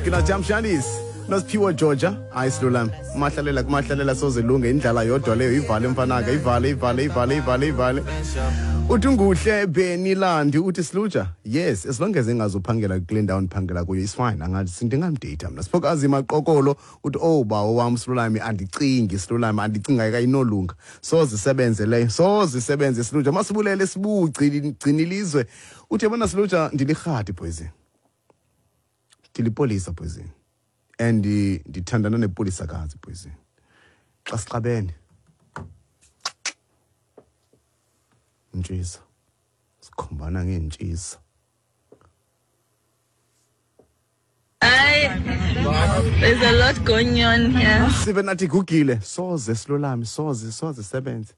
Kina Jam Shandis nosiphiwo Georgia. Hayi silulami, umahlalela kumahlalela soze lunge, indlala yodwa leyo. Ivale mfanaka, ivale, ivale, ivale, ivale, ivale. Uthi unguhle Benilandi, uthi Sluja, yes, as long as engazuphangela kule ndawo ndiphangela kuyo is fine, angathi ndingamdeyitha mna. Siphokazi Maqokolo uthi, oh bawo wam Silulami, andicingi Silulami, andicingi ayinolunga, soze isebenze leyo, soze isebenze Sluja. Masibulele sibugcini ilizwe. Uthi yabona Sluja, ndilirhadi poison, ndilipolisa poison, and ndithandana nepolisakazi poison. Xa sixabene ntshisa, sikhombana ngeentshisa. There's a lot going on here. Sive nathi gugile, soze silulame, soze, soze sebenze.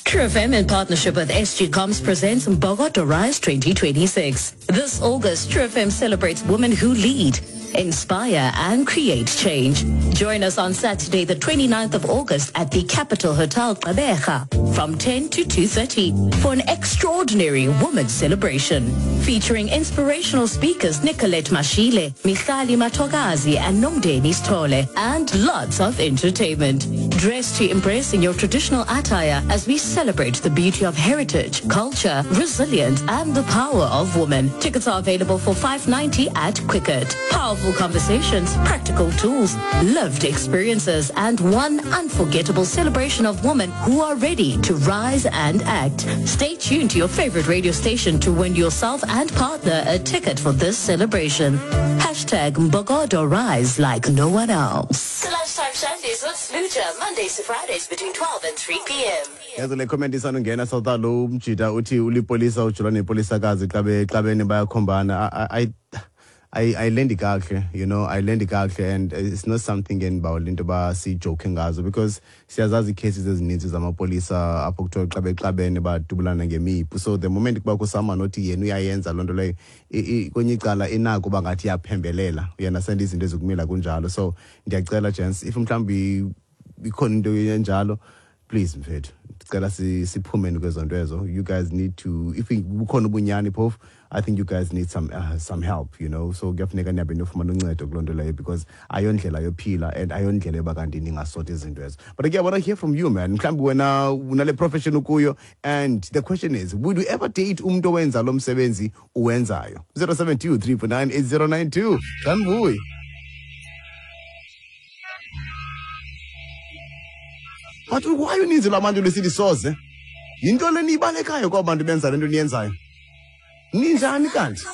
True FM in partnership with SG Comms presents Mbokodo Rise 2026. This August, True FM celebrates women who lead, inspire and create change. Join us on Saturday, the 29th of August at the Capital Hotel Gqeberha from 10 to 2:30 for an extraordinary women's celebration featuring inspirational speakers Nicolette Mashile, Michali Matogazi and Nomdeni Stole, and lots of entertainment. Dress to impress in your traditional attire as we celebrate the beauty of heritage, culture, resilience and the power of women. Tickets are available for 590 at Quicket. Powerful conversations, practical tools, lived experiences, and one unforgettable celebration of women who are ready to rise and act. Stay tuned to your favorite radio station to win yourself and partner a ticket for this celebration. Hashtag Mbogodo Rise like no one else. The Lunchtime Shandies with Sluja, Mondays to Fridays between 12 and 3 p.m. Yazi le comment isanungena sawuta lo mjita uthi ulipolisa ujula nepolisakazi xa bexabene bayakhombana. Ayilendi kakuhle, ayilendi kakuhle, and it's not something endibawela into yoba sijoke ngazo, because siyazazi ii-cases ezininzi zamapolisa apho kuthiwa xa bexabene badubulana ngemipu. So the moment kubakho someone othi yena uyayenza loo nto leyo, kwenye icala inako uba ngathi iyaphembelela, uyanasenda izinto ezikumila kunjalo. So ndiyacela gents, if mhlawumbi ikhona into enjalo, please mfethu, ndicela siphumeni kwezo nto ezo. You guys need to, if bukhona ubunyani phofu, I think you guys need some help. So kuyafuneka nihambe niyofumana uncedo kuloo nto leyo, because ayondlela yophila and ayondlela yoba kanti ningasota izinto ezo. But again, I want to hear from you, man. Mhlawumbi wena unale profession ukuyo, and the question is, would you ever date umntu owenza lo msebenzi uwenzayo? 072 349 8092. Sanbuyi. But why uninzi lwabantu lusithi soze? Yinto le niyibalekayo kwaba bantu benza le nto niyenzayo. Ninjani kanti?